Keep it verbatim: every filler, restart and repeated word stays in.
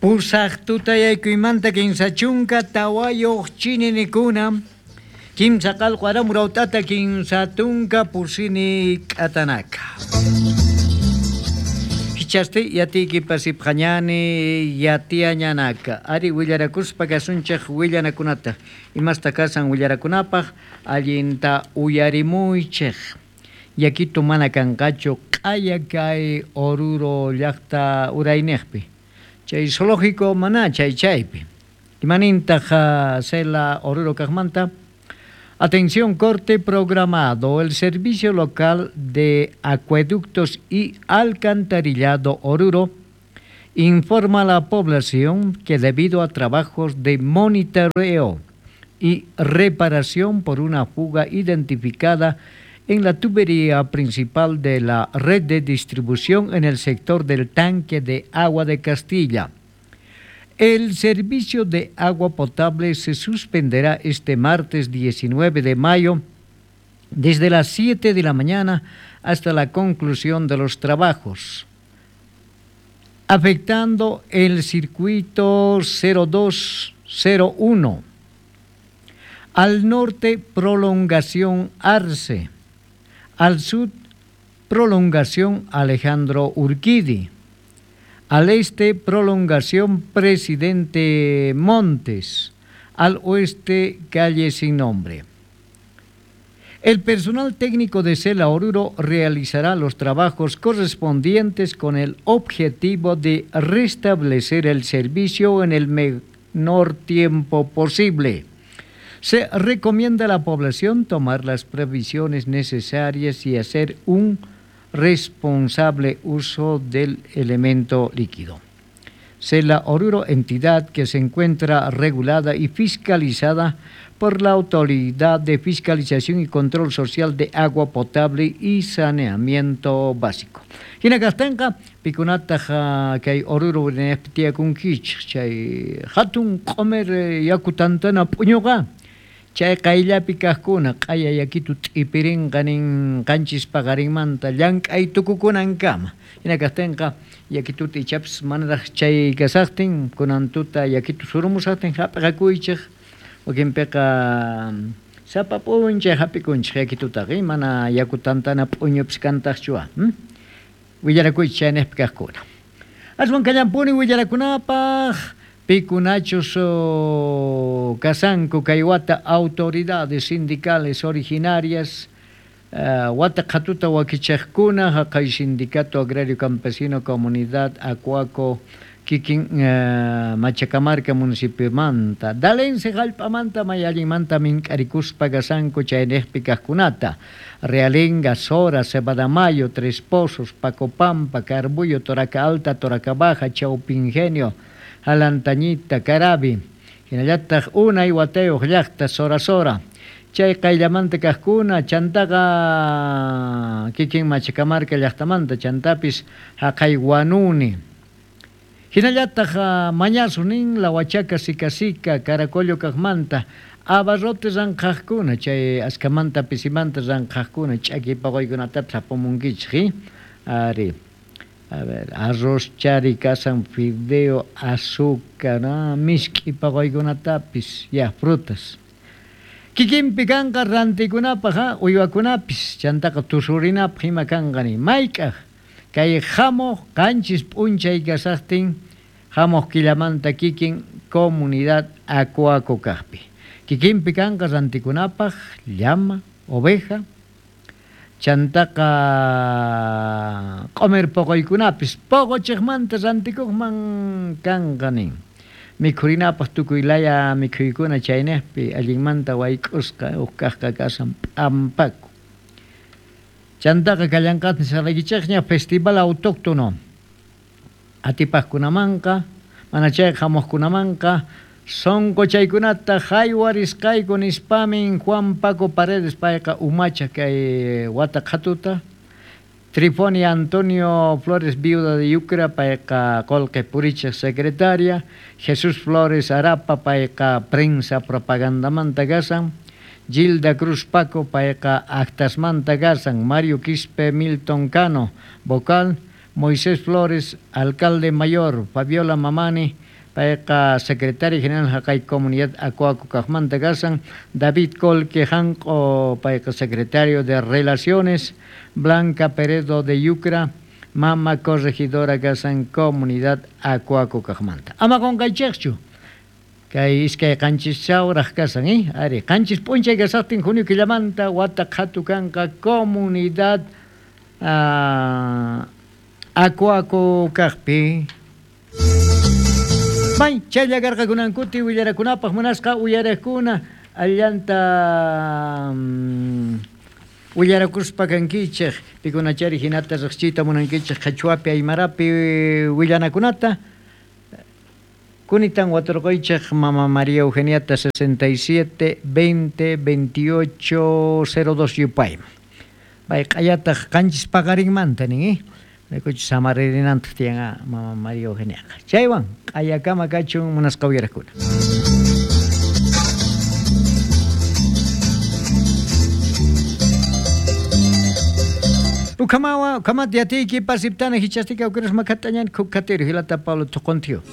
Pusaq tutayaykuymanta kinsa chunka tawayuq chininikuna kimsa qalqu aramuraut'ata kinsa tunka pusini k'atanaka. Hichasti yatiyki pasipqañani yatiañanaka. Ari willarakuspa kasunchik willanakunata. Imasta kasan willarakunapaq allinta uyarimuychik. Yakitu mana kanqachu q'aya kay Oruro llaqta urayniqpi. Chay zoológico mana chay chaypi. Imanintaq Cela Oruro kaqmanta? Atención, corte programado. El servicio local de acueductos y alcantarillado Oruro informa a la población que debido a trabajos de monitoreo y reparación por una fuga identificada en la tubería principal de la red de distribución en el sector del tanque de agua de Castilla, el servicio de agua potable se suspenderá este martes diecinueve de mayo desde las siete de la mañana hasta la conclusión de los trabajos, afectando el circuito cero dos cero uno. Al norte, prolongación Arce. Al sur, prolongación Alejandro Urquidi. Al este, prolongación Presidente Montes. Al oeste, calle sin nombre. El personal técnico de Cela Oruro realizará los trabajos correspondientes con el objetivo de restablecer el servicio en el menor tiempo posible. Se recomienda a la población tomar las previsiones necesarias y hacer un responsable uso del elemento líquido. Cela Oruro, entidad que se encuentra regulada y fiscalizada por la Autoridad de Fiscalización y Control Social de Agua Potable y Saneamiento Básico. Hina kaqtinqa pikunataq kay Oruro tiyakunkichik chay hatun q'umir yaku tantana p'uñuqa chay qayllapi kaqkuna q'aya yakitu t'ipirinqa nin qanchis paqarinmanta llank'ay tukukunankama. Hina kaqtinqa yakituta ichapis manaraq chay kasaqtin kunan tuta yakitu surumusaqtin hap'iqakuychik. Wakinpiqa sapa p'unchay hap'ikunchik yakitutaqa mana yaku tantana p'uñupis kantaqchuwa. Willarakuychik chayniqpi kaqkuna. Aswan kallampuni willarakunapaq pikunachus kasanku kay wata autoridades sindicales originarias uh, wata qhatuta wakichaqkuna haqay Sindicato Agrario Campesino Comunidad Acuaco kikin uh, Machacamarca municipiomanta Dalense jallp'amanta may allinmanta mink'arikuspa kasanku chayniqpi kaqkunata Realenga, Sora, Cebadamayo, Tres Pozos, Pacopampa, Carbuyo, Toraca Alta, Toraca Baja, Chaupingenio, Alantañita, Carabi, hinallataq unay watayuq llaqta Sora Sora, chay qayllamanta kaqkuna chantaqa kikin Machacamarca llaqtamanta chantapis haqay Huanuni. Hinallataq mañasu nin La Huachaca, Sicasica, Caracollo kaqmanta, abarrote ranqaqkuna, chay askamanta pisimanta ranqaqkuna, ch'aki paquykunatapis apamunkichik, ari. A ver, arroz, chari, kasan, fideo, azúcar, ¿no? Misk'i paquykunatapis, ya, frutas. Kikinpi kanqa rantikunapaq, uywakunapis, chantaqa tusurinapaq ima kanqa ni. Mayk'aq kay hamuq qanchis p'unchay kasaqtin, hamuq killamanta kikin comunidad Acuaco kaqpi. Kikinpi kanqa rantikunapaq llama, oveja, chantaqa q'umir poqoykunapis poqochiqmanta rantikuqman kanqa nin. Mikhurinapaq tukuy laya mikhuykuna chayniqpi allinmanta wayk'usqa huk kaqqa kasan p'ampaku. Chantaqa kallanqatmi saraykichikña festival autóctono atipaqkunamanqa mana chayqa hamuqkunamanqa sonqochaykunata haywarisqayku nispamin Juan Paco Paredes payqa umacha kay wata qhatuta Trifonia Antonio Flores viuda de Yucra payqa qolqe purichaq secretaria Jesús Flores Arapa payqa prensa propagandamanta kasan Gilda Cruz Paco payqa actasmanta kasan Mario Quispe Milton Cano vocal Moisés Flores alcalde mayor Fabiola Mamani Payqa secretario general haqay comunidad Acuaco kaqmanta kasan. David Colque Janqo, payqa secretario de Relaciones. Blanca Peredo de Yucra, mama corregidora kasan comunidad Acuaco kaqmanta. Ama qunqaychikchu. Kay iskay qanchis chawraq kasan, eh? Ari, qanchis p'unchay kasaqtin junio killamanta wata qhatu kanqa comunidad uh, Acuaco kaqpi. May chaylla karqakunankuti willarakunapaq munasqa uyarakuna allanta um, willarakuspa kankichik pikunachari hinata riqchiyta munankichik qhichwapi aymarapi willanakunata. Kunitan waturquychik Mama María Eugeniata sesenta y siete veinte veintiocho cero dos yupayman. Pay q'ayataq qanchis paqarinmanta nin, eh? Rikuchi samaririnantaq tiyan Mama María Eugeniaqa. Chaywan q'ayakama kachun munasqa uyarakuna. Ukamawa, ukamati atiyki pasiptana hichastika ukiras makatañan kukatiru hilata Pablo Tuqontio.